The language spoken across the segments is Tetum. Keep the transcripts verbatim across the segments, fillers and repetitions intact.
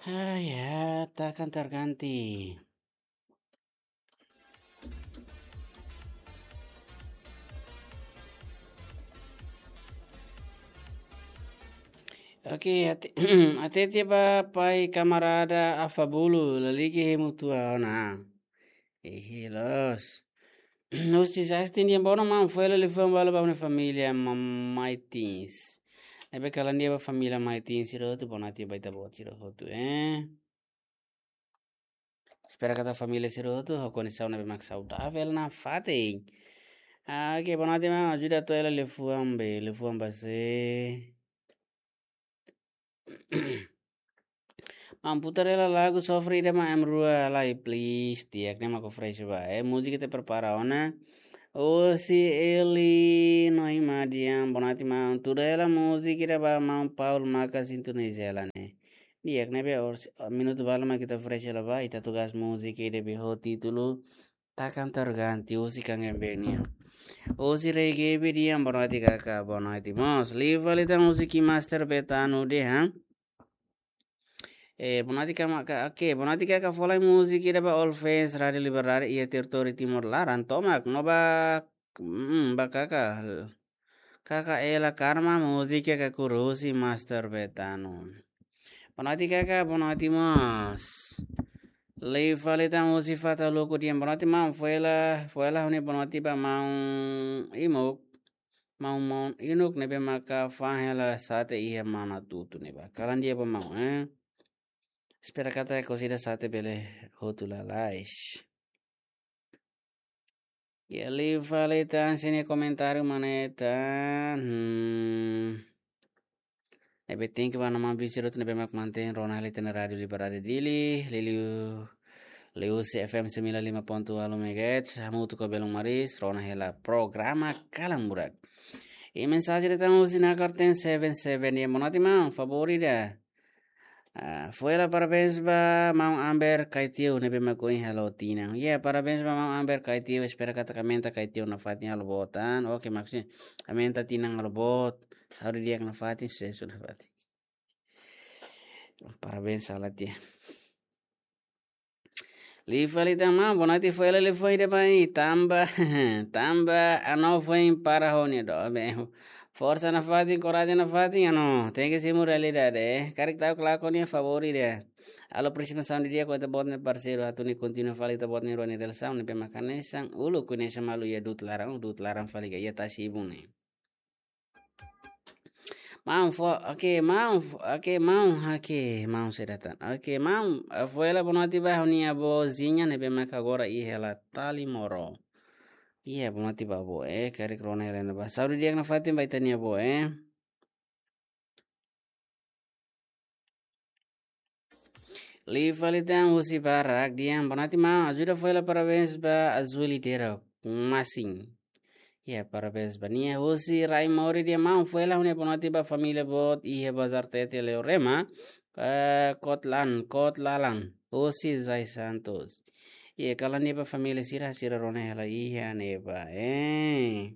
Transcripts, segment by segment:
Ah, ya, takkan terganti. Oke, ate, ate tia ba pai kamarada Afabulu, laliki hemu tua ona. Ehe, loos. Husi Justin dia bona, maun, foin hela liafuan balu ba ha'u-nia família, ma-, Maitins. Ne'ebé kalan dia ba família Maitins sira hotu, bona tia ba ita-boot sira hotu, eh. Espera katak família sira hotu ho kondisaun ne'ebé mak saudavel nafatin. Ah, oke, bona tia maun, ajuda atu hela liafuan be, liafuan ba sé. Maun, putar hela lagu Sofre ida maun, M Rua lai, please. Di'ak, ne'e mak fresh ba. Eh, múzika ita prepara ona. Husi Eli Noima Dian, bona tia maun. Tuda hela múzika ida ba maun Paul maka sintonizá hela ne'e. Di'ak, ne'ebé oras, minutu balu mak ita fresh hela ba, ita tugas múzika ida be ho títulu Takkan Terganti, husi Kangen Benia. Husi Rei Gaby Dian, bona tia kaka, bona tia mós. Liu fali tan husi Keymaster Betano dehan. Eh, bona tia kaka, oke, bona tia kaka, fó lai múzika ida ba All Fans Rádio Liberdade iha territóriu Timor laran tomak, no ba, mm, ba kaka, kaka Ela Karma, múzika Kakuru husi Master Betano. Bona tia kaka, bona tia mós. Liu fali tan husi Fata Luku Dian, bona tia maun, foin hela, foin hela ha'u-nia bona tia ba maun Imuk, maun, maun Inuk ne'ebé maka fa'an hela sate iha Manatutu ne'ebá. Kalan dia ba maun, eh. Espera katak kosida sate bele hotu lalais. Ya, liu fali tan sira-nia komentáriu mak ne'e tan. Hmm. Ne'ebé thank you ba maun Bisirut ne'ebé mak mantein rona hela ita-nia Rádio Liberdade Dili, liuliu, liuhusi F M sembilan lima ponto walu megahertz, hamutuk ho Belun Maris, rona hela programa Kalan Burak. I mensajen ida tan husi Nakar ten seven seven, ya, bona tia maun, favór ida. Ah, foin hela parabéns ba maun Amber Kaitiu ne'ebé mak ohin halo tinan. Ya, parabéns ba maun Amber Kaitiu, espera katak aumenta Kaitiu nafatin halo boot an. Oke, maksudnya aumenta tinan halo boot. Saúde di'ak nafatin, susesu nafatin. Parabéns, salah dia. Liu fali tan maun, bona tia, foin hela liafuan ida ba maun, tanba, tanba Ano foin para ho nia doben. Forsa nafatin, korajen nafatin, Ano. Tenke simu realidade, eh. Karik ta'uk lakon nia favór ida. Halo aproximasaun didi'ak ho ita-boot nia parseiru, atu nune'e kontinua fali ita-boot nia rua nia relasaun ne'ebé mak hanesan uluk, hanesan malu iha du'ut laran, du'ut laran fali ka iha tasi-ibun ne'e. Maun fó, oke, maun fó, oke, maun, oke, maun sira tan. Oke, maun, eh, foin hela bona tia ba ha'u-nia avó Zinha ne'ebé maka agora iha hela Talimoro. Iya, bona tia ba avó, eh, karik rona hela ne'ebá. Saúde di'ak nafatin ba ita-nia avó, eh. Liu fali tan husi Barak Dian, bona tia maun, ajuda foin hela parabéns ba Azuli Derok Masin. Ya, parabéns ba nia. Husi Rai Mori Dian, maun, foin hela ha'u-nia bona tia ba família boot iha Bazar Tete Leorema, eh, Kotlan, Kotlalan, husi Zai Santos. Ya, kalan dia ba família sira, sira rona hela iha ne'ebá, eh.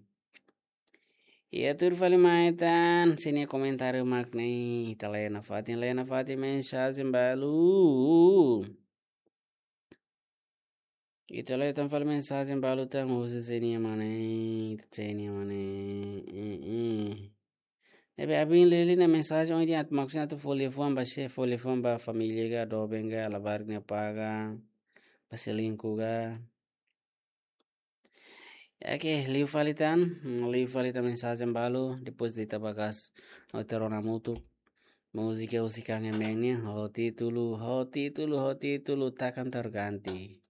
Iya, tuir fali mai tan sira-nia komentáriu mak ne'e, ita lee nafatin, lee nafatin mensajen balu. Ita lee tan fali mensajen balu tan husi sira-nia mane, ita sira-nia mane. Eh, eh. Ne'ebé abin leli na mensajen ohin di'ak, maksudnya atu fó liafuan ba sé, fó liafuan ba família ka, doben ka, labarik nia apá ka, ba selingkuh ka. Oke, liu fali tan, hmm, liu fali tan mensajen balu, depois de ita bakas, no ita rona hamutuk múzika husi Kangen Benia, ho títulu, ho títulu, ho títulu Takkan Terganti.